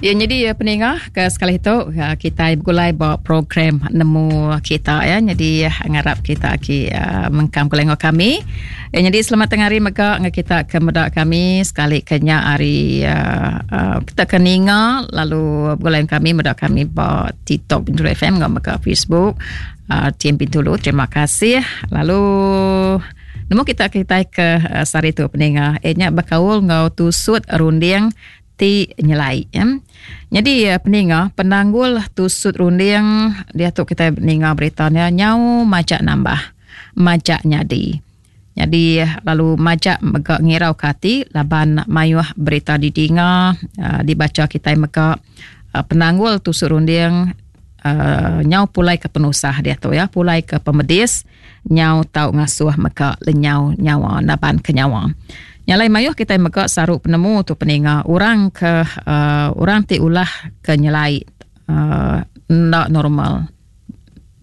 Ya nyadi peninga ke sekali tu kitai begulai ba program nemu kita ya nyadi ngarap kita agi mengkang begulai enggau kami. Ya nyadi selamat tengah hari mega enggau kita ke meda kami sekali ke nya hari kita ke ninga lalu begulai enggau kami meda kami ba TikTok Bintulu FM enggau mega Facebook Team Bintulu. Terima kasih lalu nemu kita kitai ke sehari tu peninga iya nya bekaul enggau tusut runding ti nyelai. Nyadi peninga penanggul tusut runding diatu kitai ninga berita nya nyau majak nambah majak nyadi. Nyadi lalu majak mega ngirau ke ati laban mayuh berita didinga dibacha kitai mega penanggul tusut runding nyau pulai ke penusah diatu ya pulai ke pemedis. Nyau tau ngasuh mega lenyau nyawa naban ke nyawa. Nya alai mayuh kitai mega saru penemu tu peninga orang ke uhh orang ti ulah ke nyelai uhh enda normal.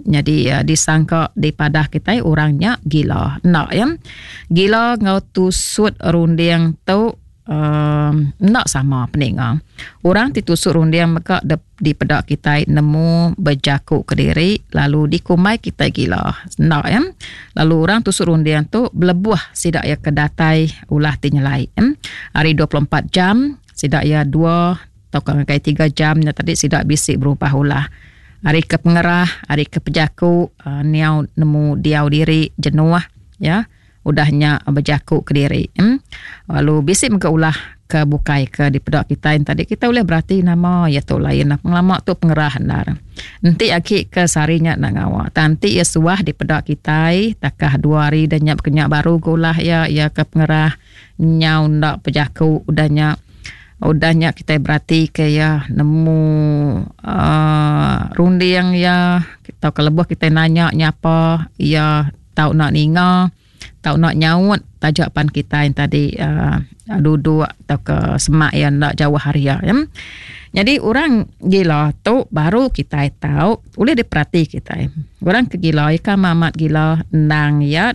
Nyadi disangka dipadah kitai orang nya gila. Enda iya. Gila enggau tusut runding tu uhh enda sama peninga. Orang ti tusut runding mega dipeda kitai nemu bejaku kediri lalu dikumbai kitai gila. Enda ya. Lalu orang tusut runding tu belebuh sida iya ke datai ulah ti nyelai. Ari 24 jam sida iya dua tauka ngagai tiga jam nya tadi sida bisi berubah ulah. Ari ke pengerah, ari ke pejaku niau nemu diau diri jenuh ya. Udah nya bejaku kediri. Lalu bisi mega ulah ke bukai ke dipeda kitai tadi kitai ulih berati nama iya tu lain pengelama tu pengerah endar. Enti agi ke sehari nya enda ngawa tang enti iya suah dipeda kitai takah dua hari dah nya baka nya baru ga ulah iya iya ke pengerah nyau enda bejaku udah nya udah nya kitai berati ke iya nemu uhh runding iya tauka lebuh kitai nanya nyapa iya tau enda ninga tau enda nyaut taja pan kitai tadi uhh duduk tauka semak iya enda jauh ari iya. Nyadi orang gila tu baru kitai tau ulih diperati kitai. Orang ke gila iya ke amat amat gila endang iya.